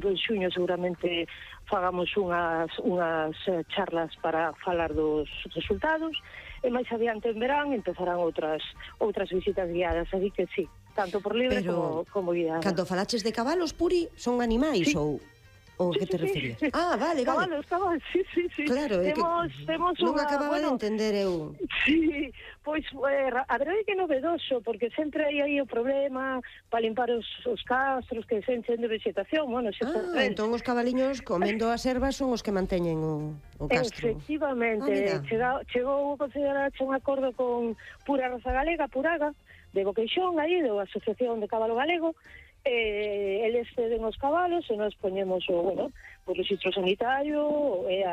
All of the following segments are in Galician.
En xuño seguramente fagamos unhas charlas para falar dos resultados, e máis adiante en verán empezarán outras visitas guiadas, así que sí, tanto por libre como guiadas. Cando falaches de cabalos, Puri, son animais ou que te referías? Ah, vale. Cabalos, sí. Claro, temos non acababa de entender eu. Sí, pois a verdade é que é novedoso, porque sempre hai aí o problema para limpar os castros que se enchen de vegetación. Entón os cabaliños comendo as ervas son os que manteñen o castro. Efectivamente, chegou o Concello de Laracha un acordo con Pura Raza Galega, Puraga, de Boqueixón, aí, da Asociación de Cabalo Galego. Eles ceden os cabalos e nos poñemos o registro sanitario e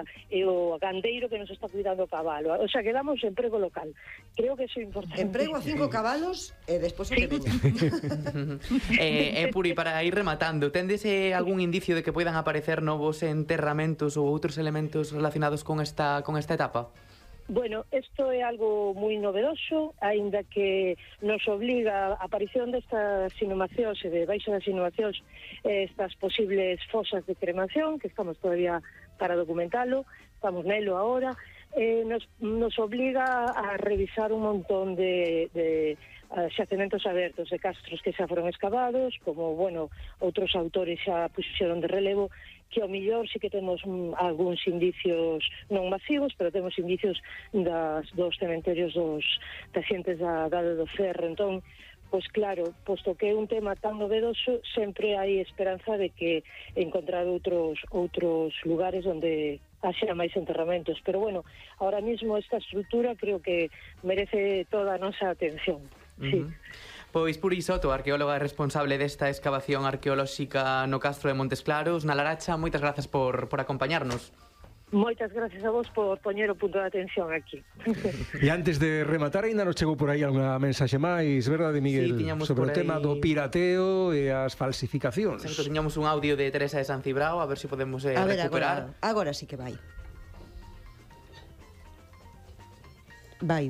o gandeiro que nos está cuidando o cabalo, o sea, que damos emprego local. Creo que iso é importante. Emprego a 5 cabalos e despois o que veña. Puri, para ir rematando, tendes algún indicio de que poidan aparecer novos enterramentos ou outros elementos relacionados con esta etapa? Bueno, isto é algo moi novedoso, aínda que nos obliga a aparición destas inhumacións e de baixo das inhumacións estas posibles fosas de cremación, que estamos todavía para documentalo, estamos nelo agora, nos obliga a revisar un montón de xacementos abertos de castros que xa foron excavados, como, outros autores xa puxeron de relevo, que ao millor sí que temos algúns indicios non masivos, pero temos indicios dos cementerios das xentes da Idade do Ferro. Entón, pois claro, posto que é un tema tan novedoso, sempre hai esperanza de que encontrar outros lugares onde haxa máis enterramentos. Pero ahora mismo esta estrutura creo que merece toda a nosa atención. Sí. Pois Puri Soto, arqueóloga responsable desta excavación arqueolóxica no Castro de Montes Claros, na Laracha, moitas grazas por acompañarnos. Moitas gracias a vos por poñer o punto de atención aquí. E antes de rematar, ainda nos chegou por aí unha mensaxe máis, verdade, Miguel? Sí, sobre o tema do pirateo e as falsificacións. Exacto, tiñamos un audio de Teresa de San Cibrao, a ver se podemos recuperar. Agora sí que vai. Vai.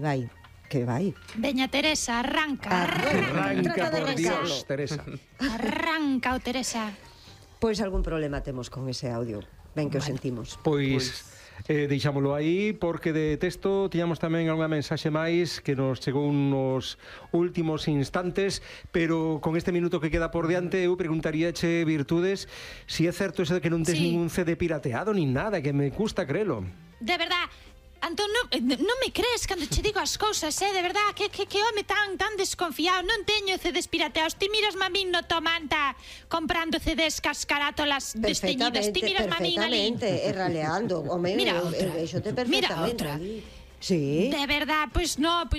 Que vai? Veña, Teresa, arranca, por Dios, Teresa. Arranca, Teresa. Pois algún problema temos con ese audio. Ben que o sentimos. Pois deixámoslo aí, porque de texto tiñamos tamén algunha mensaxe máis que nos chegou nos últimos instantes, pero con este minuto que queda por diante eu preguntaríache, Virtudes, si é certo eso de que non tes ningún CD pirateado nin nada, que me custa crelo. De verdad, Antón, non me crees cando che digo as cousas, de verdad, que home tan desconfiado. Non teño CDs pirateados. Ti miras a min no Tomanta comprando CDs cascarátolas desteñidas. Ti miras a min ali raleando. Home, vexote perfectamente ali. Sí. De verdad, pois no,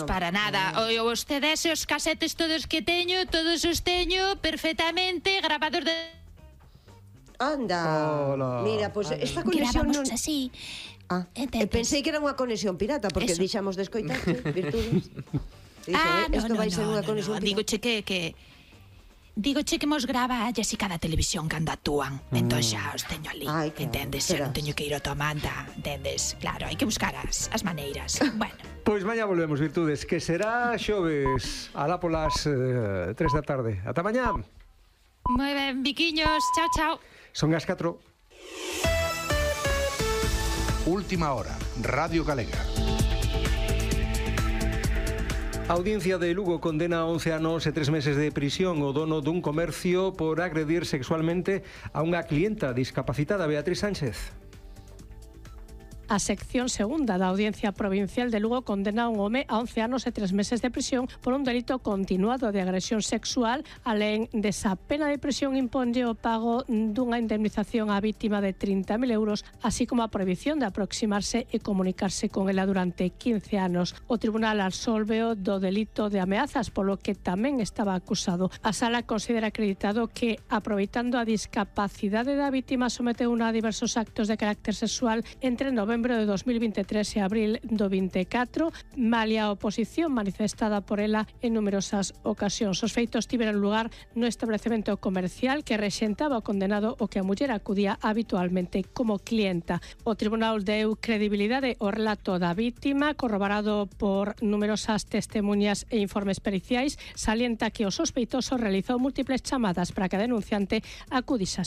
para nada. Os CDs e os casetes todos que teño, todos os teño perfectamente grabados de... Anda. Mira, pois esta conexión non... Gravamos así. Pensei que era unha conexión pirata, porque deixamos de escoitarte, Virtudes. Isto vai ser unha conexión pirata. Digoche que mos grava a Jessica da televisión cando actúan. Entón xa os teño ali, entendes? Xa non teño que ir ao Tomanta, entendes? Claro, hai que buscar as maneiras. Bueno. Pois mañá volvemos, Virtudes, que será xoves alá polas 3 da tarde. Ata mañá. Moi ben, biquiños, chao. Son as 4. Última hora, Radio Galega. A Audiencia de Lugo condena a 11 anos e 3 meses de prisión o dono dun comercio por agredir sexualmente a unha clienta discapacitada, Beatriz Sánchez. A sección segunda da Audiencia Provincial de Lugo condena a un home a 11 anos e 3 meses de prisión por un delito continuado de agresión sexual. Alén desa pena de prisión, imponlle o pago dunha indemnización á vítima de 30.000 euros, así como a prohibición de aproximarse e comunicarse con ela durante 15 anos. O tribunal absolveo do delito de ameazas, polo que tamén estaba acusado. A sala considera acreditado que, aproveitando a discapacidade da vítima, someteuna a diversos actos de carácter sexual entre novembro de 2023 e abril do 24, malia a oposición manifestada por ela en numerosas ocasións. Os feitos tiveron lugar no establecemento comercial que rexentaba o condenado, o que a muller acudía habitualmente como clienta. O tribunal deu credibilidade ao relato da vítima, corroborado por numerosas testemunhas e informes periciais. Salienta que o sospeitoso realizou múltiples chamadas para que a denunciante acudise